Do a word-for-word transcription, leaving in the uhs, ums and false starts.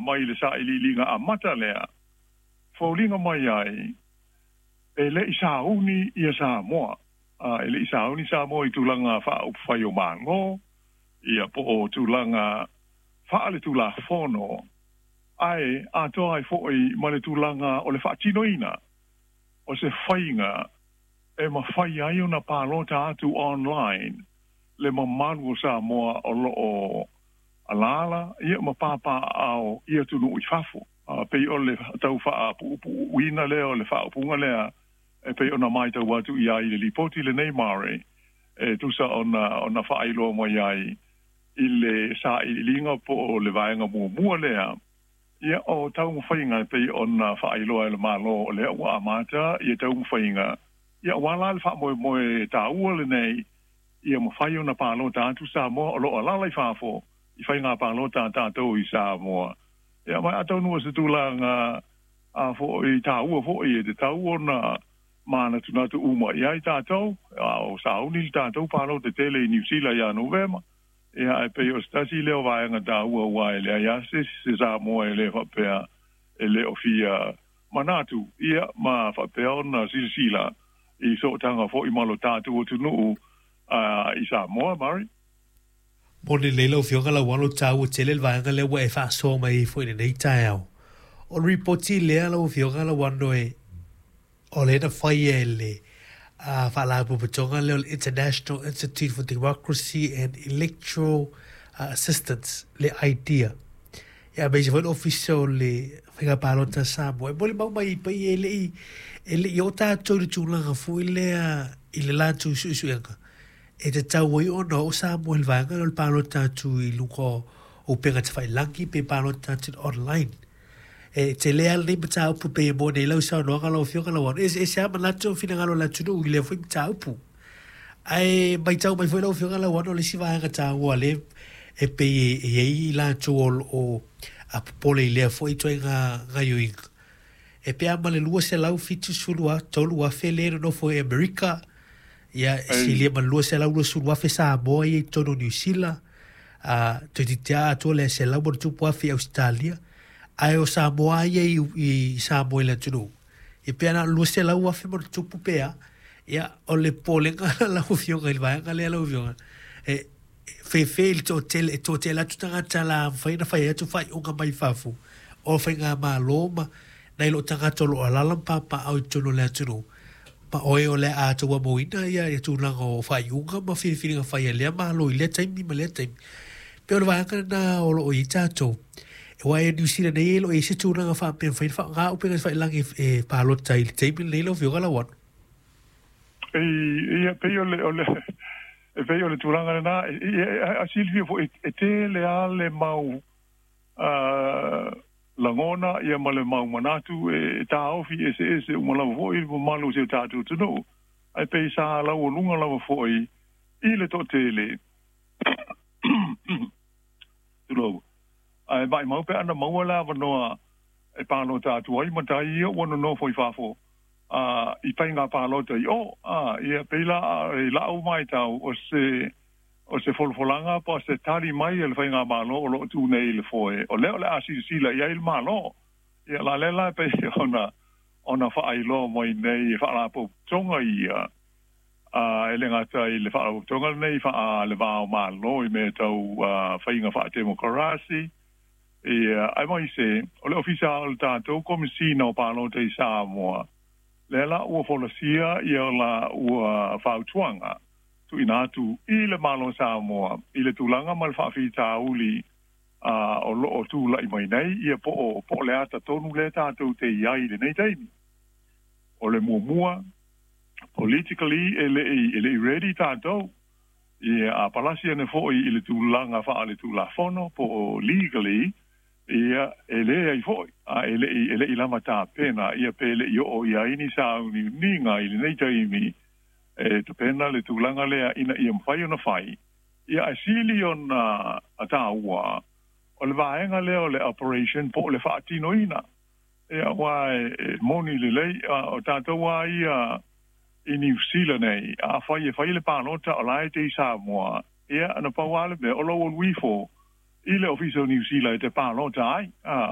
mai le sailiiliga amata lea foliga mai ai e le'i sauni ia Samoa, a e le'i sauni Samoa i tulaga faaupufai o Malo ia po o tulaga faaletulafono ae atoa ai fo'i ma le tulaga o le faatinoina o se faiga e mafai ai ona palota atu online le mamalu o Samoa o loo alaala ia ma papaaao i atunuu i fafo. A pei o le tau faapuupuuina lea o le faaupuga lea e pei ona matau atu i ai i le lipoti lenei Mare e tusa ona ona faailoa mai ai i le sailiiliga po o le vaega muamua lea ia o taumafaiga e pei ona faailoa e le Malo o lea ua amata ia taumafaiga ia ua la le faamoemoe taua lenei ia mafai ona palota atu Samoa o loo alaala i fafo i faiga palota a tatou i Samoa. Ia ma atonu o se tulaga a fo'i taua fo'i e tatau ona manatunatu uma i ai tatou a o sauni le tatou palota tele i Niu Sila ia Novema. Ia ae pei o se tasi lea o vaega taua ua e leai lava se isi se Samoa e le faapea e le o fia manatu ia ma faapea ona silasila i sootaga foi ma lo tatou atunuu i Samoa, Murray. Moni lelei lau Afioga Lauano, taua tele le vaega lea ua e faasoa mai ai foi i lenei taeao. O le ripoti lea lau Afioga Lauano e o lea na faia e le uh, faalapotopotoga lea o le International Institute for Democracy and Electoral uh, Assistance, le IDEA. Ia aemaise foi le Ofisa o le Faiga Palota a Samoa. E molimau mai ai pei e le i e le i oo tatou i le tulaga foi lea i le latou suesuega e tatau ai ona oo Samoa i le vaega lea o le palota atu i luga o upega tafailagi pe palota atu online. E tele lava lenei mataupu pei e moni ai lau saunoaga lau Afioga Lauano. E eseese lava manatu ma finagalo o le atunuu i lea foi mataupu. Ae matau mai foi lau Afioga Lauano o le isi vaega taua lea e pei e i ai i latou o lo o popole i lea foi ituaiga gaoioiga. E pe a ma le lua selau fitu sefulu tolu afe lea e nonofo i Amerika, ia e silia ma le lua selau luasefulu afe Samoa ia i totonu o Niu Sila, a toeitiiti lava atoa le selau ma ona tupu afe i Ausetalia, ae o Samoa lava ia i, i Samoa i le atunuu, ia pe na o le lua selau afe ma ona tupu pe a. Ia, o le popolega lau Afioga i le vaega lea lau Afioga, e fefe i le toatele, e toatele atu tagata la mafai ona fai atu faaiuga mai fafo o faigamalo ma nai loo tagata o loo alaala ma papaaao i totonu o le atunuu, ma oe o le a tauamoina ia, ia tulaga o faaiuga ma filifiliga fai a lea Malo i lea taimi ma lea taimi. Pei o le vaega lena o loo i ai tatou. Aua e Niu Sila nei e le o i ai se tulaga faapea e mafai ona faaaoga upega tafailagi e palota i le taimi lenei lau Afioga Lauano. E ia pei o le o le e pei o le tulaga lena e silafia foi e tele lava le mau lagona ia ma le mau manatu e taofi eseese uma lava foi le mamalu o si o tatou atunuu ae pei sa laualuga lava foi i le toatele tulou ae maumau pe ana maua le avanoa e palota atu ai matai ia ua nonofo i fafo a i faiga palota i o a ia pei la i la'u matau o se o se folafolaga po o se tali mai a le faigamalo o loo tu nei i le foe o lea o le a silasila i ai le Malo. Ia la lea la e pei ona ona faailoa mai nei e faalapotopotoga ia a e le gata i le faalapotopotoga lenei faa le va o Malo i mea tau faiga faatemokarasi ia aemaise o le Ofisa o le tatou Komesina o Palota i Samoa lea la ua folasia ia la ua fautuaga tuuina atu i le Malo o Samoa i le tulaga ma le faafitauli a o loo tula'i mai nei ia po o po o le ata tonu lea tatou te i ai i lenei taimi. O le muamua, politically e le'i e le'i ready tatou ia a palasi ane fo'i i le tulaga faaletulafono po o legally ia e leai fo'i a e le'i e le'i lava tapena ia pe le'i oo i ai ni sauniuniga i lenei taimi e tapena le tulaga lea ina ia mafai ona fai ia ae sili ona taua o le vaega lea o le operation po o le faatinoina ia aua e moni lelei o tatou lava ia i Niu Sila nei afai e fai le palota o la e te i Samoa ia na pau lava le mea o lou alu ifo i le Ofisa o Niu Sila e te palota ai.